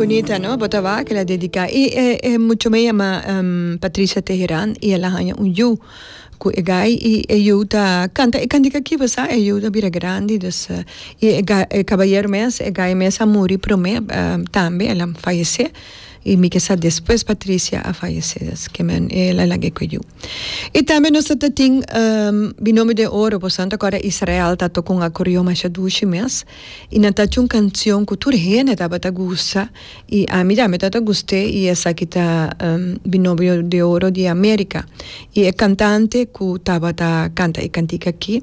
Bunita no, bo ta wak el a dedica y e e mucho me yama Patricia Teheran y el a haña un yu cu e guy y e yu ta canta e cantica aki bo sa e yu ta bira grandi dus y e e cabayero mes e guy mes a muri prome tambe el a fayece y mi ke sa despues Patricia a fayece dus ke men el a laga e cu e yu. Y tambe nos ta ta tin Binomio de Oro bo sa no ta acorda Israel ta toca un acordeon masha dushi mes. I nan ta haci un cancion cu tur hende tabata gusta y ami tambe tabata gust'é y esaki ta Binomio de Oro di America. Y e cantante cu tabata canta e cantica aki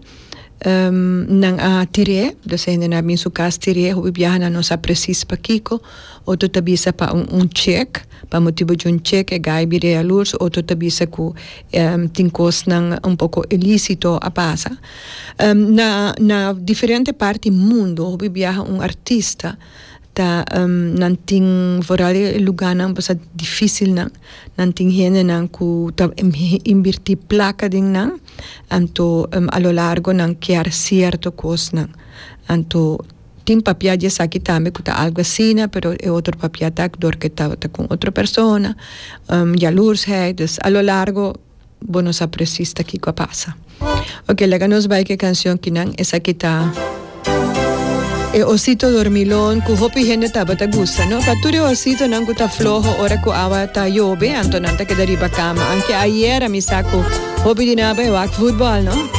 nan a tir'é, dus e hendenan a bin su cas tir'é, hopi biaha nan no sa precies pakico, otro ta bisa pa un chek, pa motibo di un chek e guy bira yalurs, otro ta bisa cu tin cosnan un poco ilicito a pasa. Na na diferente parti mundo hopi biaha un artista ta nan tin vooral e lugarnan bo sa dificilnan nan tin hendenan cu ta inverti placa den nan anto a lo largo nan kier cierto cosnan anto tin papia di esaki tambe cu ta algo asina pero e otro papia ta dor cu e tabata cu otro persona jaloersheid dus a lo largo. Bo no sa precies ta kiko a pasa. Ok, laga nos bai ku e kanshon kinan. Esaki ta E osito dormilon ku hopi hende tabata gusta, no? Pa tur e ositonan ku ta floho ora ku awa ta yobe, anto nan ta keda riba kama. Anke ayera mi sa ku hopi di nan a bai wak futbòl, no?